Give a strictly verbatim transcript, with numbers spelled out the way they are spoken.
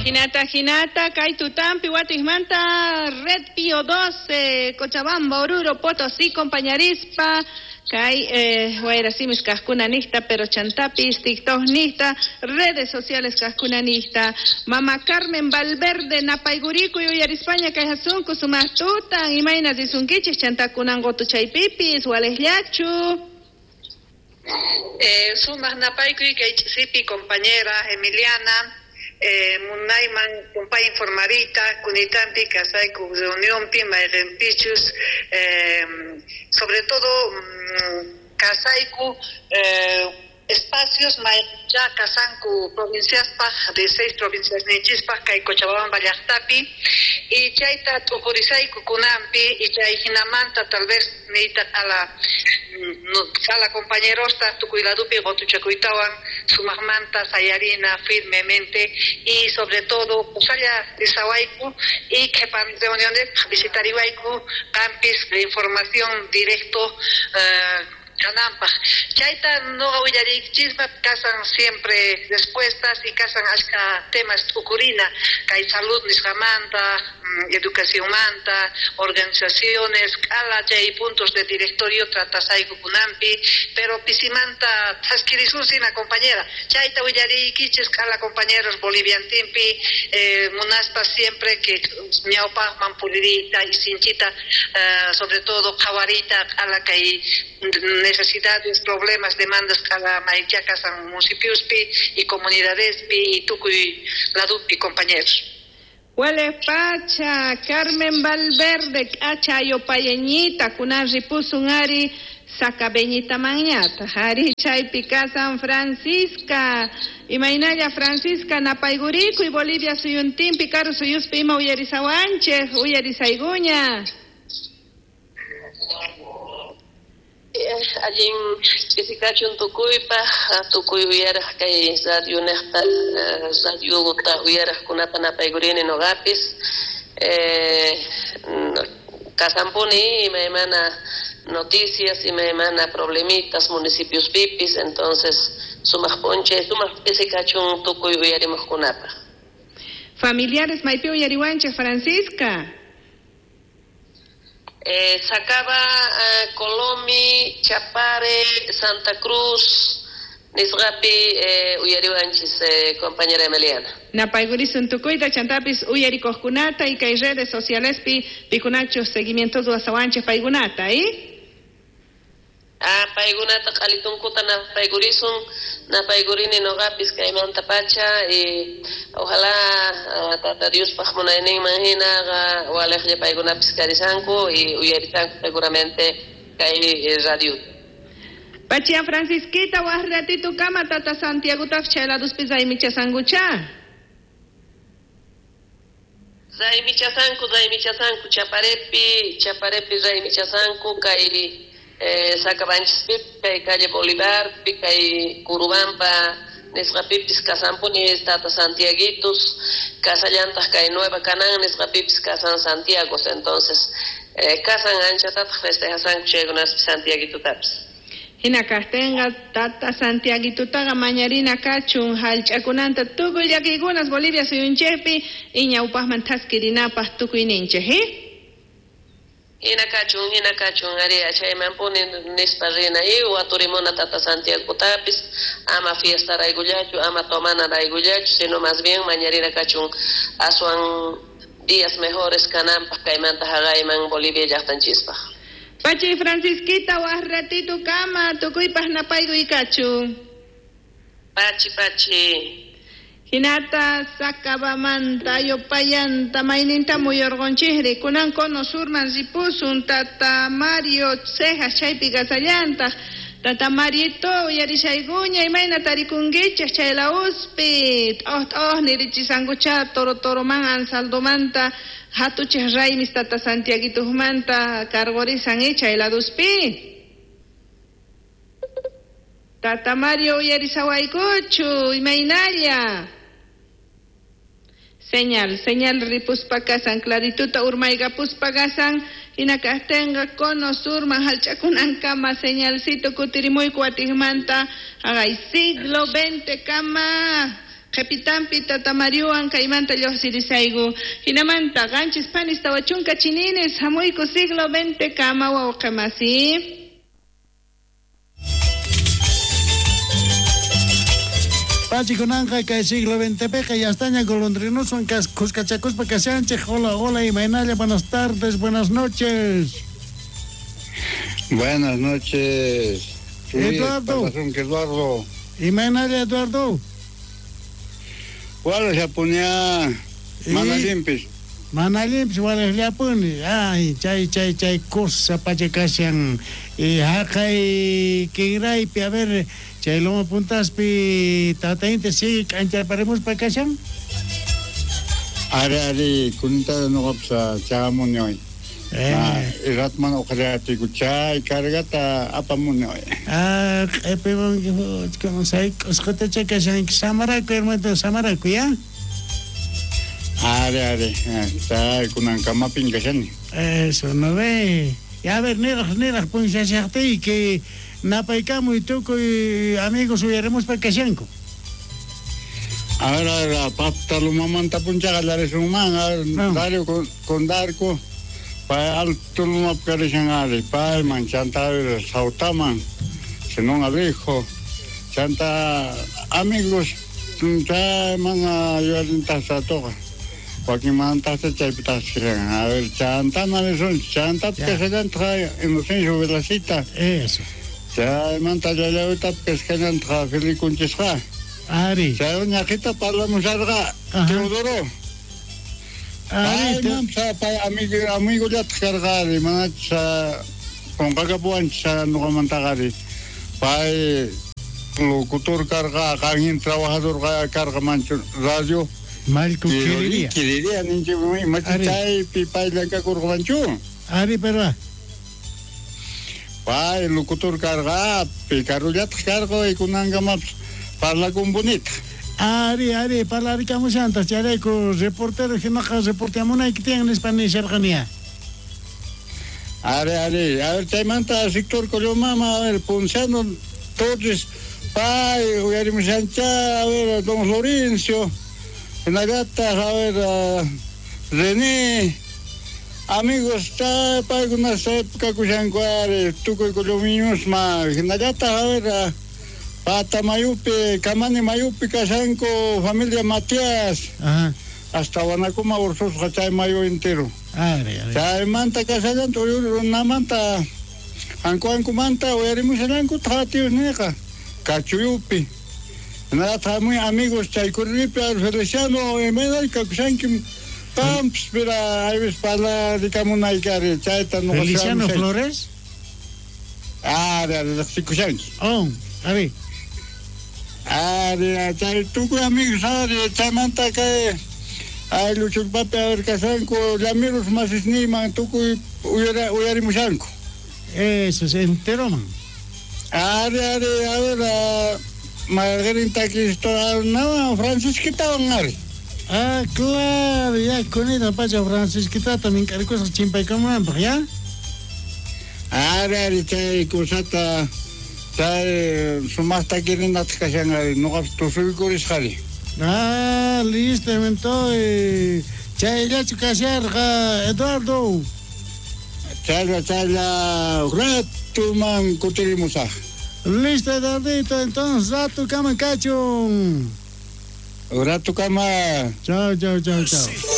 Hinata, hinata, kay tutampi, watikmanta, Red Pío doce, Cochabamba, Oruro, Potosí, compañarispa, kay eh, wayrasimis kajkuna nista, pero chantapis, TikTok nista, redes sociales kajkuna nista, Mama Carmen Valverde, Napayguriku, uyarispaña, kay hasunku, sumaqtutan, imayna risunkichis, chantakunan gotuchaypipis, walejllachu. Eh, sumaq napaykuy kay ch'isipi compañera Emiliana, Eh, munayman kumpay informarita kunitampi kasayku reunionpi mayqinpichus, eh, sobre todo mm, kasayku eh, espacios mayqincha kasanku provinciaspaj de seis provincias nichispaj kay Cochabamba llaqtapi y chayta t'uqurisayku kunanpi y chay hinamanta tal vez niyta q'ala no, q'ala compañerosta tukuy ladupi qotuchakuytawan sumaqmanta sayarina firmemente y sobre todo kusalla risawayku y qhipan reuniones visitariwayku qampis de información directo uh, kanampaj. Chayta noqa willariychispa kasan siempre respuestas y kasan ashka temas t'ukurina kay salud nisqamanta, educacionmanta, organizaciones, q'ala chay puntos de directorio tratasayku kunanpi, pero pisimanta thaskirisun compañera. Chayta willariykichis q'ala compañeros boliviantinpi, eh, munaspa siempre que ñawpaqman puririta y sinchita, eh, sobre todo qhawarita q'ala kay necesidades, problemas, demandas cada maycha kasan municipiospi y comunidadespi y tukuy ladupi compañeros. Huele pacha, Carmen Valverde, acha yopayeñita, kunan ripusun ari, sacabeñita mañata, ari chaypi kasan Francisca, imaynalla Francisca, napayguriku y Bolivia suyuntinpi, karu suyuspi ima uyarisawanchej, uyarisayguña. Allin ch'isikachun tukuypaj, tukuy uyaraj kay radio nejta, radiota uyarajkunata napaygurini noqapis, eh, kasampuni imaymana noticias, imaymana problemitas municipios pipis, entonces sumaq p'unchay, sumaq ch'isikachun tukuy uyarimuqkunapaj. Familiares maypi uyariwanchej, Francisca. Eh, Sacaba, eh, Colomi, Chapare, Santa Cruz, nisqapi eh, uyariwanchis, eh, compañera Emiliana. Napaygurisun tukuyta chantapis uyarikuqkunata y kay redes socialespi pikunachus seguimiento ruwasawanchis paykunata, ¿eh? Ah, paykunata q'alitunkuta napaygurisun, napaygurini noqapis kaymanta pacha y ojalá uh, Tata Diospaj munayninman hinaqa walejlla paykunapis karisanku y uyarisanku seguramente kay radio. Pachia Francisquita, waj ratito kama Tata Santiago taf chayladuspi raymichasankucha. Raymichasanku, raymichasanku, Chaparepi, Chaparepi raymichasanku kay Eh, Sacabanchispi, kay calle Bolivar, kay Curubampa, nisqapipis kasanpuni Tata Santiaguitos, kasallantaq kay Nueva Canán, nisqapipis kasan Santiagos, entonces eh, kasan anchatataq festejasanku chaykunaspi Santiaguitotapis. Hina kajtinqa Tata Santiaguitotaqa mañarina kachun hallch'akunanta tukuy llakiykunas Bolivia suyunchikpi y ñawpaqman thaskirinapaq tukuyninchik, eh? Hina kachun, hina kachun, aria chaymanpuni nispa rina y waturimuna Tata Santiagotapis, ama fiesta raygullachu, ama tomana raygullachu, sino más bien mañarina kachun aswan días mejores kananpaq kaymanta haqayman Bolivia llaqtanchispaq. Pachi Francisquita, waj ratito kama, tukuypaq napaykuy kachun. Pachi, pachi. Hinata Sacabamanta, Yopayanta, mayninta muyurqunchikri, kunan cono surman ripusun, Tata Mario Cejas chaypi kasallantaq, Tata Marito uyarishaykuña, imayna tarikunkichik chay lawuspi, t'oj t'oj nirichisankucha toro toroman ansaldomanta, hatuchik raymis Tata Santiaguitojmanta cargorisan eh, chay laduspi. Tata Mario uyarisawaykuchu, imaynalla. Señal, señal ripuspa kasan, clarituta urmaykapuspa kasan, hinakajtinqa cono surman hallch'akunankama señalcito kutirimuyku watikmanta, haqay siglo veinte kama, Qhepitampi Tata Mariowan kaymanta lluqsirisayku. Hinamanta qanchis panis tawa chunka chininis hamuyku siglo veinte kama wawqimasi. Pachikunanqa kay siglo veinte peqa ya estaña golondrinoswan kuskachakuspa kashanchej. Hola, hola, imaynalla, buenas tardes, buenas noches. Buenas noches. Eduardo. Eduardo. Imaynalla, Eduardo. Wala japonía, mana limpis. Mana limpis, wala japoni. Ay, chay, chay, chay, cosa pachakashan. Y haqay kinraypi, a ver, chay loma puntaspi, tata inti sigue k'ancharparimuspa kashan. Ari, ari, kunita nuqapsa chagamuni hoy. Eh. Ratman uqariatiku chay cargata apamuni hoy. Ah, q'epimunki, sayk'usqatacha kashanki, samaraku, hermanito, samaraku, ya? Ari, ari, chay kunankamapin kashani. Eso, no ve. Y a ver, niraj, niraj, punshashaqtiyki, napaykamuy tukuy amigos uyarimuspa kashanku. A ver, a ver, pata lumamanta punchaqa llarisunman, a ver, Dario con, con Darko, pay alto lumap karishan ari, payman, chanta a ver, sautaman, senón alejo, chanta amigos, chay mana yuyarintasqa toqa. Wakinmantasta chaypi tasqiran. A ver, chantana risun, chantata kashallantaqa Inocencio Velacita. Eso. Chaymanta llallawitapi kashallantaqa Felikunchisqa. Ari. Chay ñaqita parlamusharqa Teodoro. Ari, pay pay amigo amigollataq karqa ari, manacha qunqakapuwanchis nuqamantaqa ari. Pay locutor karqa, qanhin trabajador karqa manchu radio. Malco Quiriría. Quiriría, ninchu, machu chaypi pay llank'akurqanchu. Ari, pero pay locutor karqa, picarullataq karqa y kunankamapis parlakun bonita. Ari, ari, parlarikamushantas, chayrayku reportero hinaqa reporteamunayki tiyan nispa nisharqaniya. Ari, ari, a ver, chaymanta sector Collomama, a ver, Ponciano Torres, pay uyarimushancha, a ver, don Florencio. Hinallataq, a ver, uh, René, amigos, paykuna kakushanku ari, tukuy Collomiñusma, hinallataq, a ver, uh, Pata Mayupi, Kamani Mayupi kashanku, familia Matías. Ajá. Hasta Wanakuma ursusqa chay mayu entero. Ari, ari. Chaymanta kashallanta, runamanta, anku ankumanta, uyarimushallanku tatiusniqa, Kachuyupi. Nada, muy amigos, Chaycurripi, Feliciano, Emena, Kakushanki, Pamps, pero ahí ves para Ricamunaykari, Chayta, no. Feliciano Flores? Ah, de Sikushanki. Oh, a ver. Ah, de Chay, tuku amigos, ah, de Chaymanta, que ay, Luchulpapi, a ver, Kasanko, Lamiros, Masisniman, tuku, Uyarimushanko. Eso, se enteró, man. Ah, de, a ver, Margarita Cristo, no, Francisquita ari. Ah, claro, ya con ella pacha Francisquita también caricosas chimpaykamunanpaq, ya. Ari, ari, chay kusata, chay sumaqta kirinataq kashan ari, nuqapis tusuykurisqari. Ah, listo, entonces, chayllachu kasharqa, Eduardo. Chaylla, chaylla, ratuman kutirimusaq. Listo, Eduardito, entonces, rato kama kachun. Rato kama. Chao, chao, chao, chao.